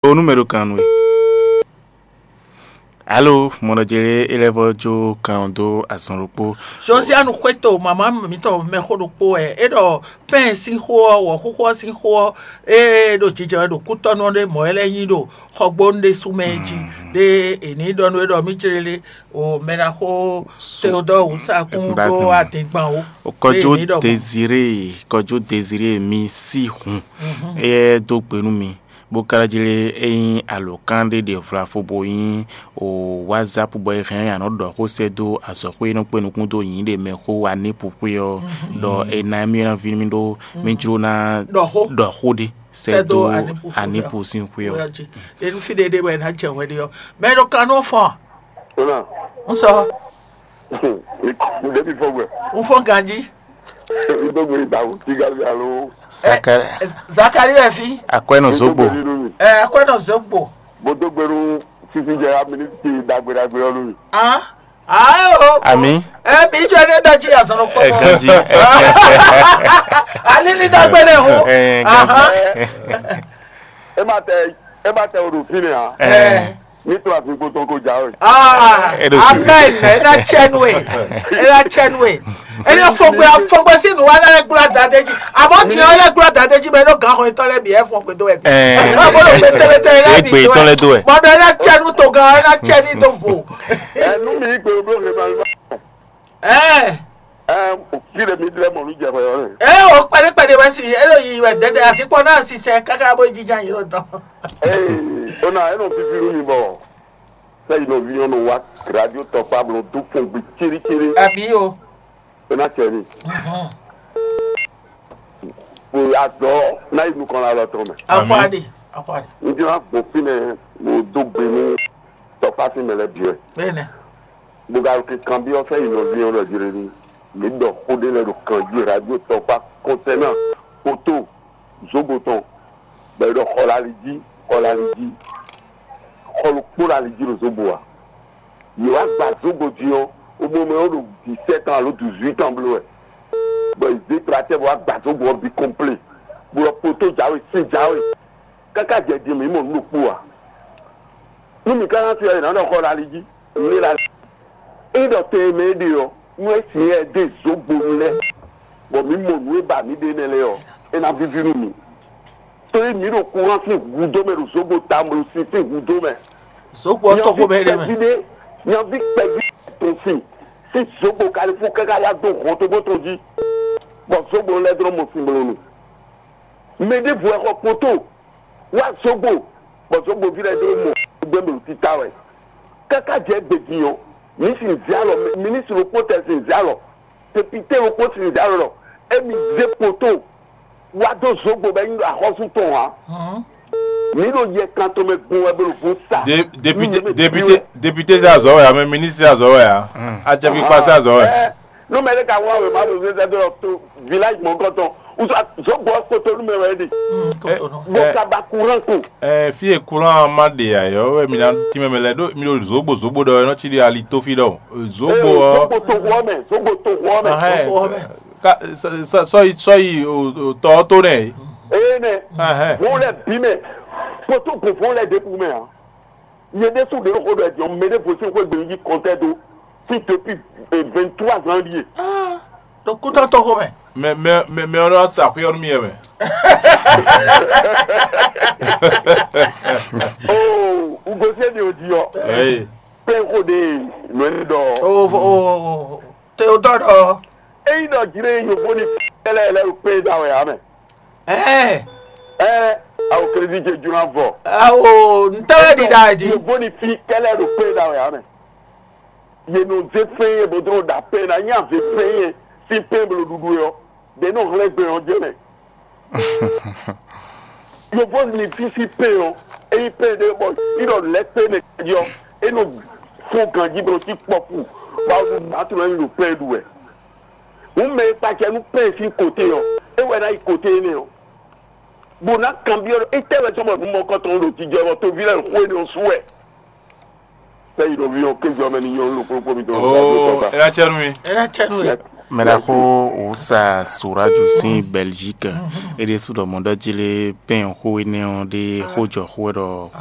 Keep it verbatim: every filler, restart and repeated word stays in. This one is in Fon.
O nú mɛ ɖo kan nú we. Alo, mɔɖɔjɛlɛ é lɛ́ vɔ́ jó kan ɔ́ dó azɔn ɖokpó. Josianu xwéto mama mǐtɔn mɛxó ɖokpó wɛ é ɖɔ pɛ́n sín xó ɔ́, wɔ̌xúxú ɔ́ sín xó ɔ́, é ɖo jijɛ wɛ ɖo kútɔ́nú ɔ́ ɖé mɔ̌ é lɛ́ nyí ɖo xɔgbónu ɖésú mɛ é jí. Ɖé è nǐ ɖɔ nú é ɖɔ mí jlélé o mɛ ɖaxó Teodɔ́ɔ wǔsakún ɖó adingban ó. Kɔjó Deziré, kɔjó Deziré mi sí hun. Éyɛ́ dó gbe nú mi, bó ka jlé é nyí alǒkan ɖé ɖe vlafo bó nyí o WhatsApp bɔ è hɛn ɔ́, a nǎ ɖɔ xó sɛ́ dó azɔ̌xwé e nɔ kpé nukún dó nyǐɖe mɛ xó wa ní pupwé ɔ́, ɖɔ è ná émí ná ví mì ɖó mì jló ná ɖɔ xó ɖé sɛ́ dó Anipu sín xwé ɔ́. Ɖe nú fí ɖé ɖé wɛ è nǎ jɛ hwɛ ɖé ɔ́. Mɛ ɖo kan nú fɔn. Ona. Un sɔ. Ɖebi fɔ gbɛ. Un fɔ ganji. Ndogbe dawu tigali alo. Zakari. Zakari wɛ fi. Akwɛnɔ zogbo. Ɛ akwɛnɔ zogbo. Mo dogbe nu sisi jɛ ya minisiti dagbe dagbe ɔlu. Ah. Ah o. Ami. Ɛ mi jɔ ne dɔ ji azɔn kpɔ. Ɛ ganji. Ali ni dagbe ne ho. Ɛ ganji. E ma tɛ e ma tɛ o ɖo fi ne a. Ɛ. Ní to àsìkò tɔn kó jáwé. Ah, amen. Ena chɛnwe. Ena chɛnwe. Ena fɔgbɛ fɔgbɛ sí nu wa na gbla dade ji. Àmọ́ kì í lɛ gbla dade ji bɛ n'o gan xɔ itɔ lɛ bi ɛ fɔ gbẹdọ ẹ bi. Ẹ bolo gbẹtẹlẹtẹ ena bi Egbe tɔ lɛ do ɛ. Mɔdɔ ena chɛnu to gan ena chɛni do vo. Ẹnu mi gbèrò bí òkè máa ń bá. Ẹ. Ẹ fi lè mi dilẹ mọ ní jẹ fẹ yọ rẹ. Ẹ o kpɛɖekpɛɖe wɛ si elo yi wɛ dɛdɛ asi kpɔ náà si sɛ kaka bó jija yìí lọ dán. Ee, o na eno fifi nu mi bɔ. Sɛ yi nɔvi nyɔnu wa radio tɔkpa blɔ dó fɔn gbe cérécéré. Àbí o. E na cɛ ni. Ko azɔ na yi nukɔn la lɔ tɔn mɛ. Akwadi, akwadi. N ti na gbɔn fínɛ mo dó gbe nú tɔkpa sín mɛ lɛ biɛ. Bẹ́ẹ̀ni. Mo ka ke kanbyɔ́ sɛ yi nɔvi nyɔnu lɔ jire ni. Mi ɖɔ xó ɖé lɛ ɖo kan jí radio tɔkpa kɔnsɛ náà kótó zógo tɔn. Bɔ è ɖɔ xɔ lali jí, xɔ lali jí, xɔ ɖokpó lali jí ɖo zóbo ǎ. Yě wá gba zóbo din ɔ́, omo mɛ ɔ́ ɖo dix-sept ans alo dix-huit ans bló wɛ, bɔ yě zé tratɛ bɔ wá gba zóbo ɔ́ bǐ kɔnplé, bó lɔ kpótó jǎwe sín jǎwe, káká jɛ din mǐ mɔ nǔ ɖokpó ǎ. Nú mǐ ka ná se ɔ́, è nǎ nɔ xɔ lali jí. Mǐ la é ɖɔ tɛnmɛ é ɖe ɔ́, nú é sin yɛ dó zǒgbonu lɛ́ɛ, bɔ mǐ mɔ nǔ e ba mǐ ɖe nɛ́ lɛ́ɛ ɔ́, é ná víví nú mǐ. Tói mǐ ɖo kuran sín hudó mɛ ɖo zǒgbo tamlu sin sín hudó mɛ. Zǒgbo ɔ́ tɔ́ xomɛ é ɖe mɛ. Kpɛví ɖé, nyaví kpɛví tɔn sin sín zǒgbo kalifú káká wá dó hɔntogbó tɔn jí, bɔ zǒgbo lɛ́ɛ dlɔ́ mɔ sin blonu. Mɛ ɖěvo wɛ xɔ kpoto wá zǒgbo, bɔ zǒgboví lɛ́ɛ dó mɔ gbɛ́mɛ títá wɛ. Káká jɛ gbedin ɔ́, mǐ sin zě alɔ, minisitiri ɖokpó tɛ sin zě alɔ, tepite ɖokpó sin zě alɔ ɖɔ émí zé kpoto wá dó zǒgbo bɔ é nyí ɖo axɔ́sú tɔn ǎ. Mǐ ɖo yɛ kan tɔn mɛ gbɔn wɛ bó ɖo vo sa. Député, député, député zé azɔ̌ wɛ ǎ, mɛ ministre zé azɔ̌ wɛ ǎ, acɛkpikpa zé azɔ̌ wɛ. Nú mɛ ɖé ka wá wěma ɖo zɛzɛdó ɔ́ to village mɔ̌kɔtɔn, wútu zɔ̌gbɔ́ kpótó nú mɛ wɛ é ɖe. Bó ka ba courant ko. Ɛ fí e courant ma ɖe ǎ yɔ wɛ mi ná tínmɛ mɛ lɛ́ɛ ɖó mi ɖo zǒgbo zǒgbo ɖɔ wɛ nɔ cí ɖi ali tó fí ɖɔ zǒgbo ɔ́. Zɔ̌gbó to xɔ mɛ, zɔ̌gbó to xɔ mɛ. Ahɛn, ka sɔ- sɔ- sɔyi sɔyi o- o- tɔ ɔ́ tó nɛ. Eye nɛ, Ahɛn. Wọn lɛ bí mɛ, kpótó gbɔnfɔn lɛ ɖěbǔ mɛ ǎ. Nyɛ ɖésú ɖě xó ɖɔ ɛ jɔn mɛ ɖěvo sín xwé gbe yí kɔntɛ́ dó sí depuis vingt-trois ans ɖíe. Ɖo kútɔ́ tɔxo mɛ. Mɛ mɛ mɛ mɛ ɔ́ nɔ sa xwé ɔ́ nú mì wɛ mɛ. Oo, ugosíɛ ɖe ò di ɔ. Ɛyi. Pé xó ɖe nɔ ɛ ɖɔ. O o o Teodoro. Eyi ɖɔ jire yovo ni kɛlɛ lɛ ɖo pé da wɛ amɛ. Ɛɛ. Ɛɛ, awo Kristi ce juna vɔ. Awo ntɛwɛ ɖi da di. Yevo ni fi kɛlɛ ɖo pé da wɛ amɛ. Ye nɔ ze fɛn ye bo dro da pé na nya ze fɛn ye si pé blo ɖuɖu ye ɔ. De nɔ hlɛ gbɛ ɔ jɛ mɛ. Yevo ni fi si pé ɔ. Eyi pé de bɔ idɔ lɛ pé ne yɔ. E nɔ fún ganji blo ti kpɔku. Ba o ma tu lɛ ni ɖo pé ɖu wɛ. Hǔn mɛ e kpacɛ nú pɛ́n sín kote ɔ́, é wɛ ná yi kote énɛ́ ɔ́, bó ná kanbyɔ́ ɖɔ étɛ́ wɛ sɔ́ bɔ nǔ mɔkɔtɔn ɖo jijɛ bɔ toví lɛ́ɛ xó énɛ́ ɔ́ sú wɛ. Sɛ́ yi ɖo ví ɔ́ kéjɔ mɛ ní nyɔ́ ló kplókpó mi tɔn. Oo, é ná cɛ nú mi. É ná cɛ nú we. Mɛɖaxó Wǔsa Suraju sín Belgique, é ɖésú ɖɔ mɔ̌ ɖɔ jí lé pɛ́n xó énɛ́ ɔ́ ɖé xó jɔ xó wɛ ɖɔ